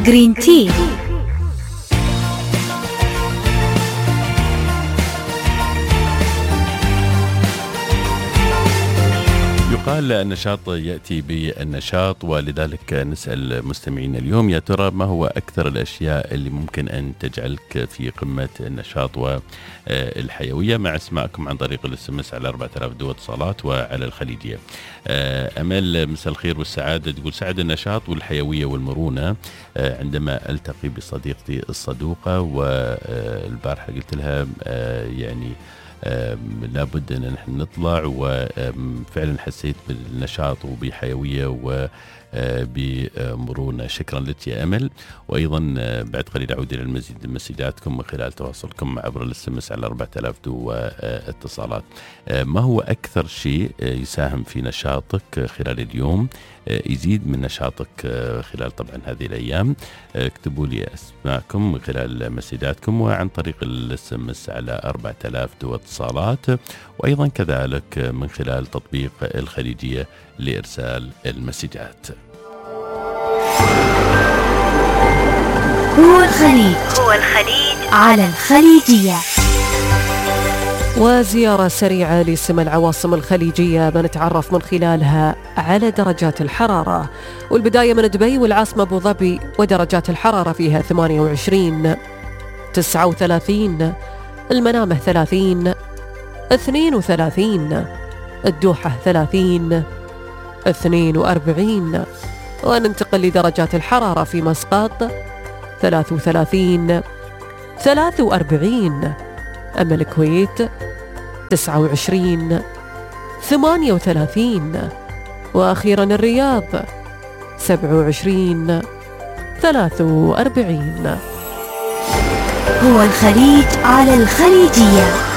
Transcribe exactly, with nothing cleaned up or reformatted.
جرين تي. يقال النشاط يأتي بالنشاط، ولذلك نسأل مستمعين اليوم يا ترى ما هو أكثر الأشياء اللي ممكن أن تجعلك في قمة النشاط والحيوية، مع اسمائكم عن طريق الاس ام اس على أربعة آلاف دو اتصالات وعلى الخليجية. أمل مساء الخير والسعادة، تقول سعد النشاط والحيوية والمرونة عندما ألتقي بصديقتي الصدوقة، والبارحة قلت لها يعني لابد أن نحن نطلع، وفعلا حسيت بالنشاط وبحيوية وبمرونة. شكرا لك يا أمل. وأيضا بعد قليل أعود إلى المزيد من مسجاتكم من خلال تواصلكم عبر الاس ام اس على أربعة آلاف دو اتصالات. ما هو أكثر شيء يساهم في نشاطك خلال اليوم، يزيد من نشاطك خلال طبعا هذه الأيام؟ اكتبوا لي اسماءكم من خلال مسجاتكم وعن طريق الاس ام اس على أربعة آلاف دو اتصالات، وأيضا كذلك من خلال تطبيق الخليجية لإرسال المسجات. هو الخليج هو الخليج على الخليجية. وزيارة سريعة لسمى العواصم الخليجية بنتعرف من خلالها على درجات الحرارة، والبداية من دبي والعاصمة أبو ظبي، ودرجات الحرارة فيها ثمانية وعشرين، تسعة وثلاثين، المنامة ثلاثين، اثنين وثلاثين، الدوحة ثلاثين، اثنين وأربعين. وننتقل لدرجات الحرارة في مسقط ثلاثة وثلاثين، ثلاثة وأربعين، أما الكويت تسعة وعشرين، ثمانية وثلاثين، وأخيرا الرياض سبعة وعشرين، ثلاثة وأربعين. هو الخليج على الخليجية.